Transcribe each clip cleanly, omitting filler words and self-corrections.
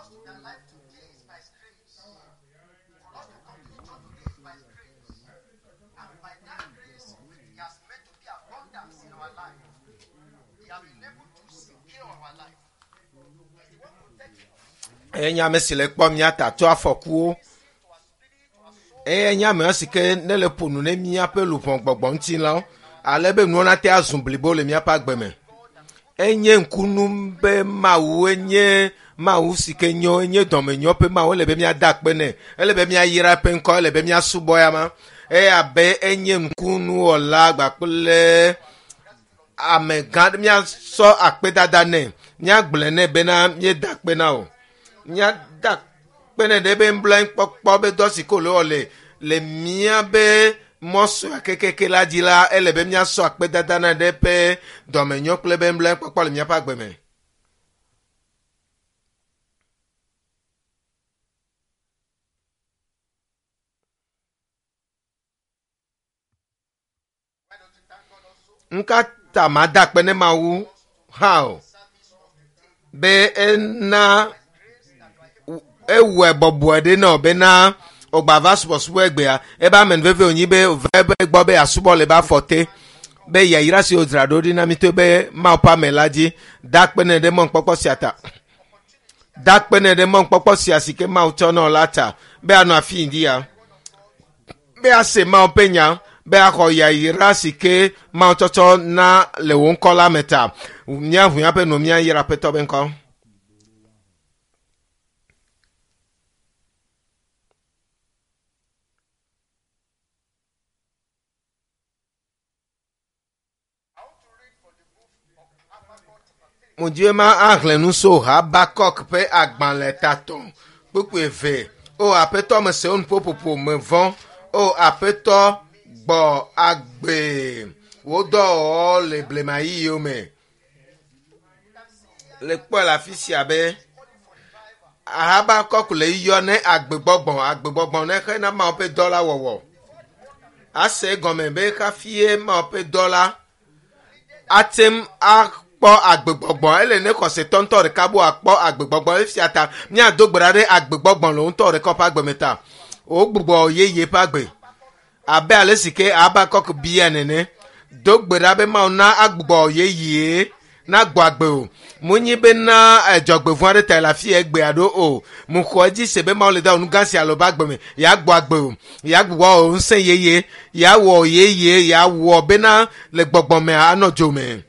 us to be alive today is by His grace. For us to come to the church today is by His grace. And by that grace, which He has made to be abundance in our life, He has been able to secure our life. He's the one protecting us. Eye nye ame si le kpɔ mía ta tso afɔkuwo. Eye nye ame si ke ne le ƒo nu ne míaƒe luʋɔ gbɔgbɔ ŋutilãwo ale be nuwo nate azu blibo le míaƒe agbe me. Enye ŋkunu be Mawu enye Mawu si ke nyo enye dɔmenyo ƒe Mawu ele be míada akpe nɛ ele be míayra eƒe ŋkɔ ele be míasubɔ ya ma eye abe enye ŋkunuwɔla gbakple amegã míasɔ akpedada nɛ míagblɔe nɛ bena míeda akpe na o míada akpe nɛ ɖe be nublanuikpɔkpɔ be dɔ si ke wòle wɔ le le míabe mɔsɔa kekeke la dzi la ele be míasɔ akpedada nɛ ɖe eƒe dɔmenyo kple be nublanuikpɔkpɔ le míaƒe agbe me. Why don't you thank God also? Ŋka ta mada akpe ne Mawu hã o Service of the day. be ena Grace that you are able ewɔe bɔbɔe ɖe nɔ bena wògba va subɔsubɔ egbea ebe amenuveve wònyi be wòva ebe gbɔ be yeasubɔ le ebe afɔ te be yayra si wodzra ɖo ɖi na mi to be Mawu ƒe ame la dzi da akpe nɛ ɖe mɔnukpɔkpɔ sia ta da akpe nɛ ɖe mɔnukpɔkpɔ sia si ke Mawu tsɔ nɔ la ta be anɔ afi yi dzi ya be ase Mawu ƒe nya be axɔ yayra si ke Mawu tsɔtsɔ na le wò ŋkɔ la me ta míaʋu míaƒe nu míayra Aƒetɔ be ŋkɔ. I want to read from the book of Habakkuk chapter 3. Mudi be ma axlẽ nu so Habakuk ƒe agbalẽ tatɔ kpukpui eve. O Aƒetɔ mese wo nuƒoƒoƒo me vɔ̃. O Aƒetɔ gbɔ agbe wò dɔwɔwɔ le blema ɣeyiɣiwo me. Le kpɔe le afi sia be Habakuk le yɔ ne agbegbɔgbɔ agbegbɔgbɔ ne xena Mawu ƒe dɔ la wɔwɔ. Ase egɔme be hafi Mawu ƒe dɔ la ate ŋu akpɔ agbegbɔgbɔ ele ne xɔsetɔ ŋutɔ ɖeka bo akpɔ agbegbɔgbɔ efia ta míado gbe ɖa ɖe agbegbɔgbɔ le ŋutɔ ɖeka ƒe agbe me ta wogbugbɔ yeye ƒe agbe abe ale si ke Habakuk bia nene do gbe ɖa be Mawu na agbugbɔ yeye nagbɔ agbe o munyi bena edzɔgbevɔ̃ aɖe ta le afi ya egbea ɖo o muxɔ edzi se be Mawu le da nu gã sia le woƒe agbe me yeagbɔ agbe o yeagbugbɔ wɔ ŋusẽ yeye yeawɔ yeye yeawɔ bena le gbɔgbɔ me anɔ dzo me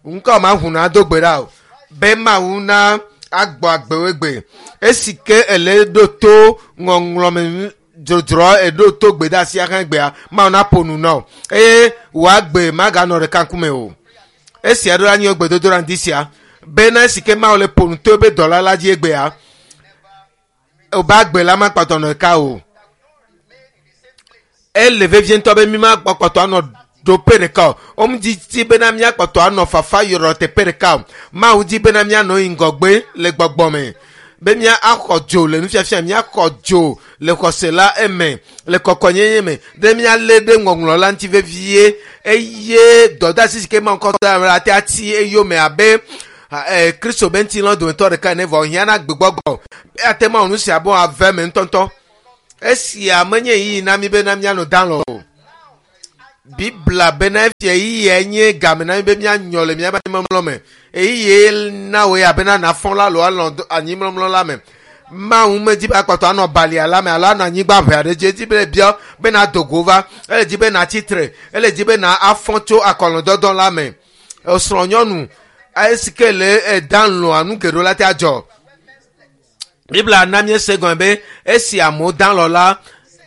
ŋkɔ ma ʋu na do gbe ɖa o be Mawu na agbɔ agbe wo egbe esi ke ele ɖo to ŋɔŋlɔme dzodzroa eɖo to gbedeasia hã egbea Mawu naƒo nu na o eye wòagbe maganɔ ɖeka ŋkume o esia ɖo la nye gbedodoɖa ŋdi sia bena esi ke Mawu le ƒo nu to ebe dɔla la dzi egbea wobe agbe la makpɔtɔ nɔ ɖeka o ele vevie ŋutɔ be mi makpɔtɔ anɔ ɖoƒe ɖeka o womedi bena míakpɔtɔ anɔ fafa yɔrɔ teƒe ɖeka o Mawu di bena míanɔ yi ŋgɔgbe le gbɔgbɔ me be mía axɔ dzo le nufiafia míaxɔ dzo le xɔse la eme le kɔkɔnyenye me be míalé ɖe ŋɔŋlɔ la ŋuti vevie eye dɔdeasi si ke Mawu kɔ da la te ati eyome abe eh, Kristo be ŋutilã dometɔ ɖeka ene vɔ hiã na gbegbɔgbɔ eya te Mawu nu sia be ave me ŋutɔŋutɔ esia menye ɣeyiɣi na mí bena míanɔ dalɔ o Biblia bena efia ɣeyiɣia nye game na mí be míanyɔ le míaƒe anyimlɔmlɔ me ɣeyiɣi na wò ya bena nafɔ la alo alɔ anyimlɔmlɔ la me Mawu medzi be akpɔtɔ anɔ balia la me alo anɔ anyigba ʋe aɖe dzi edzi be bia be na do go va ele dzi be natsi tre ele dzi be na afɔ tso akɔlɔdɔdɔ la me esrɔ̃ nyɔnu esi ke le eda lɔa nu geɖewo la te adzɔ Biblia na míese gɔme be esi amewo da lɔ la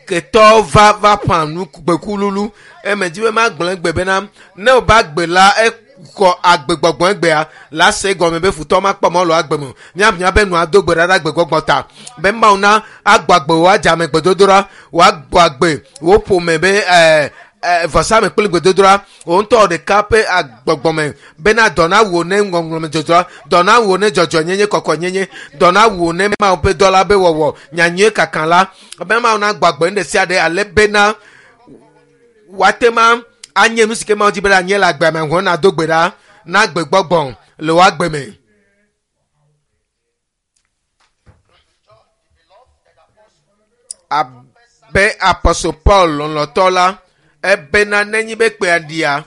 ketɔ va va ƒã nu gbekululu eme dzi be magblɔ egbe bena ne wòba agbe la ekɔ agbegbɔgbɔ egbea la se gɔme be futɔ makpɔ mɔ le agbe me o míaʋu míaƒe nua do gbe ɖa ɖe agbegbɔgbɔ ta be Mawu na agbɔ agbe wò adze ame gbedodoɖa wòagbɔ agbe wò ƒome be ɛɛ ɛɛ vɔsame kple gbedodoɖa wò ŋutɔ ɖeka ƒe agbɔgbɔme bena dɔ na wò ne ŋɔŋlɔme dzodzroa dɔ na wò ne dzɔdzɔnyenye kɔkɔnyenye dɔ na wò ne Mawu ƒe dɔ la be wɔwɔ nyanyuie kaka la be Mawu na gbɔ agbe nu ɖe sia ɖe ale bena woate ma anye nu si ke Mawu di be la nye le agbea me hɔn na do gbe ɖa na gbegbɔgbɔ le wò agbe me. Abe Apɔstol Paul lɔlɔ̃tɔ la, ebena nenye be kpea ɖia,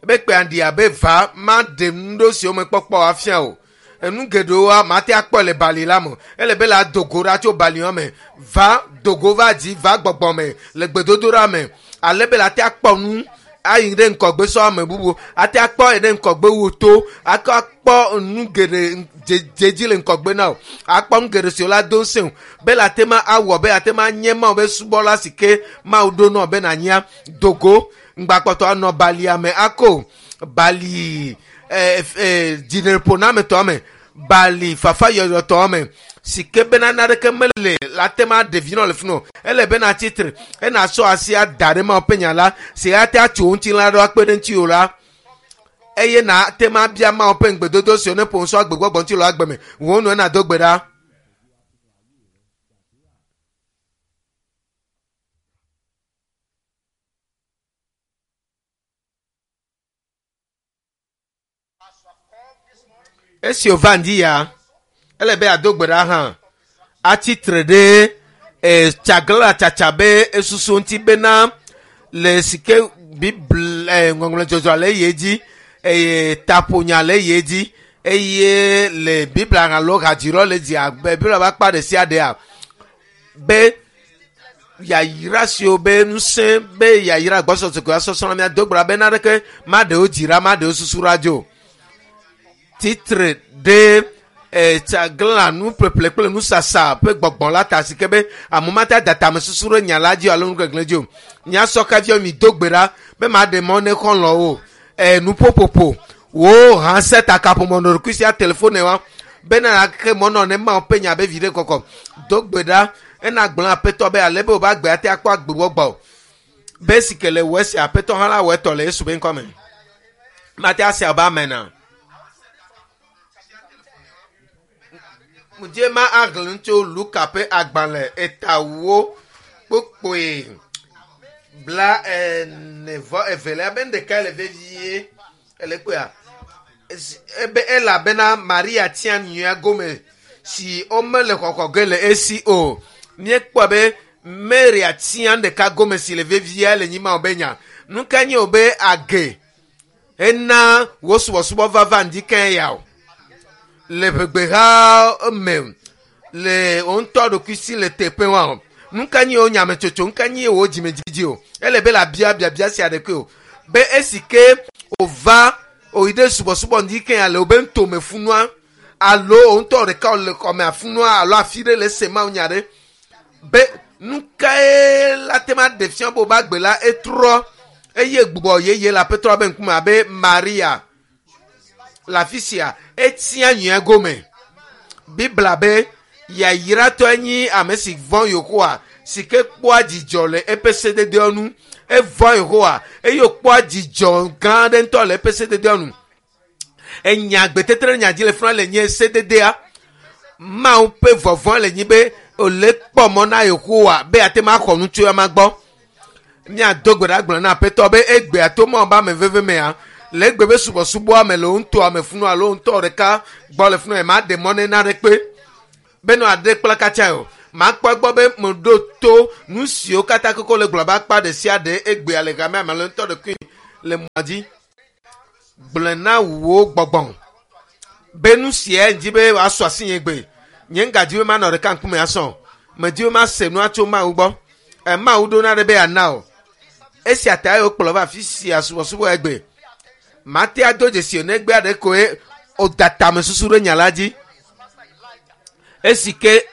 be kpea ɖia be va maɖe nu ɖewo siwo mekpɔkpɔ afia o. Enu geɖewoa mate akpɔe le bali la me. Ele be la do go ɖa tso bali me. Va dogo va dzi va gbɔgbɔ me le gbedodoɖa me. Ale be la te akpɔ nu ayi ɖe ŋkɔgbe sɔ ame bubu. Ate akpɔ yi ɖe ŋkɔgbe wu to. Akɔ akpɔ nu geɖe dzedzi le ŋkɔgbe na o. Akpɔ nu geɖe siwo la do ŋusẽ o. Be la te ma awɔ be ate ma nye Mawu be subɔla si ke Mawu ɖo nɔ be nanyia dogo ŋgbakpɔtɔ anɔ balia me ako bali dziɖeƒonametɔ me bali fafa yɔyɔtɔ me si ke bena naneke mele la te ma ɖevi nɔ le fi nɔ ele bena tsitre ena sɔ asi ada ɖe Mawu ƒe nya la si ate atso ŋutilã ɖo akpe ɖe ŋuti o la eye na te ma bia Mawu ƒe ŋugbedodo siwo ne ƒo ŋusɔ agbegbɔgbɔ ŋuti le agbe me wo nu ena do gbe ɖa. Esi wòva ŋdi ya, ele be ado gbe ɖa hã. Atsitre ɖe tsaglã tsatsa be esusu ŋuti bena le si ke Biblia ŋɔŋlɔdzɔdzɔ le ye dzi eye taƒonya le ye dzi eye le Biblia alo hadzirɔ le dzi abe Biblia ƒe akpa ɖe sia ɖea be yayra siwo be ŋusẽ be yayra gbɔsɔsɔ ko asɔsɔ na mía do gbe ɖa be naneke maɖewo dzi ɖa maɖewo susu ɖa dzo. Titre ɖe tsaglã nuƒeƒle kple nusasa ƒe gbɔgbɔ la ta si ke be ame mate ada tamesusu ɖe nya la dzi alo nugbegblẽ dzi o. Míasɔ kaviɔ mi do gbe ɖa be maɖe mɔ ne xɔlɔ̃wo nuƒoƒoƒo wo hã se takaƒomɔ nɔ ɖokui sia telefone wa bena ke mɔ nɔ ne Mawu ƒe nya be viɖe kɔkɔ do gbe ɖa ena gblɔ aƒetɔ be ale be wòva agbe ate akpɔ agbegbɔgbɔ o. Be si ke le wɔ esi aƒetɔ hã la wɔ etɔ le Yesu be ŋkɔ me. Mate ase abe amena. Mudie ma ahlẽ tso Luka ƒe agbalẽ etawo kpokpoe 42 be ɖeka le vevie ele kpea ebe elabena Maria tia nyuia gome si womele xɔxɔ ge le esi o. Míekpɔ be Maria tia ɖeka gome si le vevie le nyi Mawu be nya. Nu ka nye wo be age ena wo subɔsubɔ vava ŋdi ke ya o. Le ʋegbeha me le wo ŋutɔ ɖokuisi le teƒe wa o. Nu ka nye wo nyametsotso, nu ka nye wo dzimedzidzi o. Ele be la bia biabia sia ɖeke o. Be esi ke wòva wòyi ɖe subɔsubɔ ŋdi ke ya le wo be ŋutome funua alo wo ŋutɔ ɖeka wòle xɔme afunua alo afi ɖe le ese Mawu nya ɖe. Be nu kae la te ma ɖe fia be wòbe agbe la etrɔ eye gbugbɔ yeye le aƒetɔ be ŋkume abe Maria le afi sia etia nyuia gome. Biblia be yayratɔe nyi ame si vɔ̃ Yehowa si ke kpɔa dzidzɔ le eƒe sededewo nu. Evɔ̃ Yehowa eye wòkpɔa dzidzɔ gã aɖe ŋutɔ le eƒe sededewo nu. Enya gbetetre nya dzi le funa le nye sededea. Mawu ƒe vɔvɔ̃ le nyi be wòle kpɔ mɔ na Yehowa be ate ma xɔ nu tso ema gbɔ. Míado gbe ɖa gblɔ na aƒetɔ be egbea to Mawu be ame veve mea le egbe be subɔsubɔa me le wo ŋutɔ ame funu alo wo ŋutɔ ɖeka gbɔ le funu ma ɖe mɔ ne na ɖe kpe be nɔ aɖe kpla katsa o. Makpɔ egbɔ be meɖo to nu siwo katã koko le gblɔ be akpa ɖe sia ɖe egbea le gamea me alo ŋutɔ ɖekui le mɔa dzi. Gblɔe na wò gbɔgbɔ be nu sia ŋdi be wòasɔ asi nye gbe. Nye ŋgadzi be manɔ ɖeka ŋkume asɔ. Medi be mase nua tso Mawu gbɔ. Mawu ɖo na ɖe be yeana o. Esia ta ye wokplɔ va afi sia subɔsubɔ egbe. Mate ado dzesi o negbe aɖe koe wòda tamesusu ɖe nya la dzi. Esi ke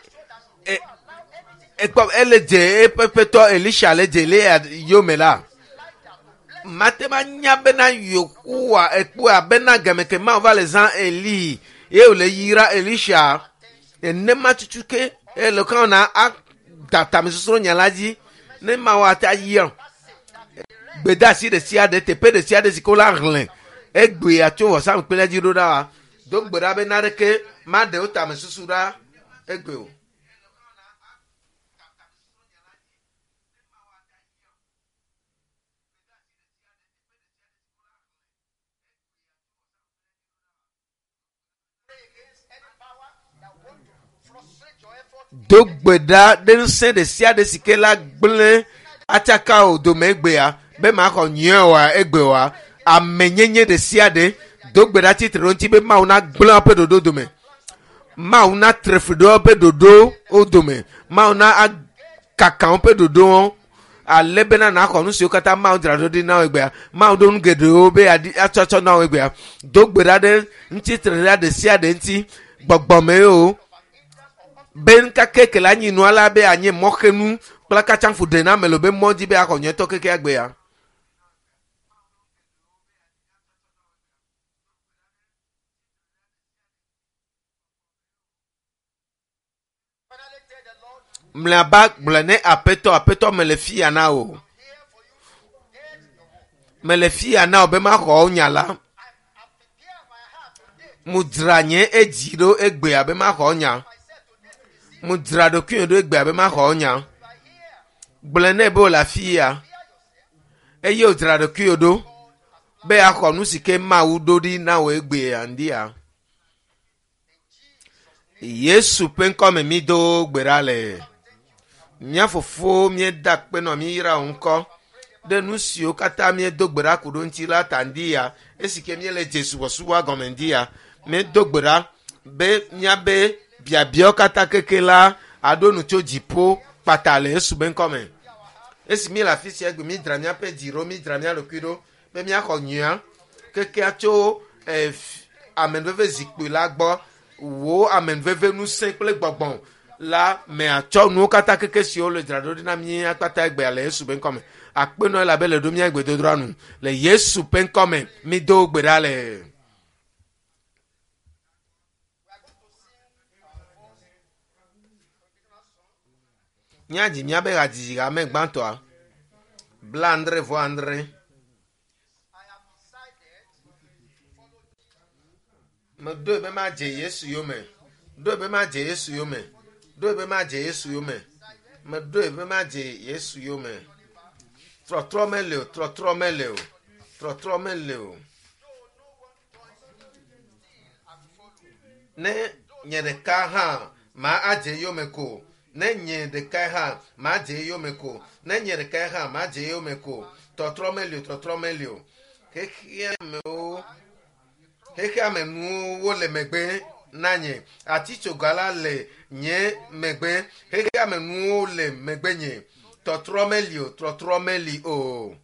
ekpɔ ele dze eƒe ƒetɔ Elisha le dze Eliya yome la. Mate ma nya bena Yehowa ekpɔe bena game ke Mawu va le zã Eli ye wòle yra Elisha. Nenema tutu ke ele kan na ada tamesusu ɖe nya la dzi ne Mawu ate ayia. Gbedeasi ɖe sia ɖe teƒe ɖe sia ɖe si ke wola hlẽ egbea tso vɔsamlekpui la dzi ɖo ɖa wa do gbe ɖa be naneke maɖe wo tamesusu ɖa egbe o. Pray against any power that want to frustrate your effort Do gbe ɖa ɖe ŋusẽ ɖe sia ɖe si ke la gblẽ atsaka o dome egbea be maxɔ nyuie oa egbe oa. Amenyenye ɖe sia ɖe do gbe ɖa tsitre ɖe ŋuti be Mawu nagblẽ woƒe ɖoɖo dome. Mawu natre fli ɖe woƒe ɖoɖowo dome. Mawu na akaka woƒe ɖoɖowo ale bena naxɔ nu siwo katã Mawu dzra ɖo ɖi na wo egbea. Mawu ɖo nu geɖewo be yeaɖi atsɔtsɔ na wo egbea. Do gbe ɖa ɖe ŋutitre ɖa ɖe sia ɖe ŋuti gbɔgbɔme o be nkake ke la nyi nua la be anye mɔxenu kple katsafu ɖe na ame le be mɔ dzi be axɔ nyuietɔ keke agbea. Finally tell the Lord, Mlɔeba gblɔ ne aƒetɔ aƒetɔ mele fia na o. here for you to get your word. Mele fia na o be maxɔ wo nya la. I prepare my heart today, Mu dzra nye edzi ɖo egbea be maxɔ nya. myself today to receive. Mu dzra ɖokuinye ɖo egbea be maxɔ nya. You are here. Gblɔ nɛ be wòle afi ya Prepare yourself. eye wòdzra ɖokuiwò ɖo be axɔ nu si ke Mawu ɖo ɖi na wò egbea ŋdia. Yesu ƒe ŋkɔme mi do gbe ɖa le. Mía fofo míeda akpe nɔ mí yra wò ŋkɔ ɖe nu siwo katã míedo gbe ɖa ku ɖo ŋuti la ta ŋdi ya esi ke míele dze subɔsubɔa gɔme ŋdi ya míedo gbe ɖa be míabe biabiawo katã keke la aɖo nu tso dziƒo kpata le Yesu be ŋkɔme. Esi míele afi sia egbe mídzra míaƒe dzi ɖo mídzra mía ɖokui ɖo be míaxɔ nyuia kekea tso eh, amenuveve zikpui la gbɔ wò amenuveve ŋusẽ kple gbɔgbɔ la me atsɔ nuwo katã keke siwo le dzra ɖo ɖi na mí akpata egbea le Yesu ƒe ŋkɔme. Akpenɔ elabe le ɖo mía gbedodoɖa nu le Yesu ƒe ŋkɔme mído gbe ɖa le. Míadzi míabe hadzidzi hame gbãtɔa 75. I have decided to follow Meɖoe be madze Yesu yome. Ɖoe be madze Yesu yome. Ɖoe be madze Yesu yome. Meɖoe be madze Yesu yome. Trɔtrɔ mele o, trɔtrɔ mele o, trɔtrɔ mele o. Ne nye ɖeka hã ma adze yome ko. Ne nye ɖeka hã ma dze yome ko. Ne nye ɖeka hã ma dze yome ko. Trɔtrɔ mele o, trɔtrɔ mele o. Xexeamewo xexeame nuwo wole megbe na nye. Atitsoga la le nye megbe. Xexeame nuwo le megbe nye. Tɔtrɔ meli o, trɔtrɔ meli o.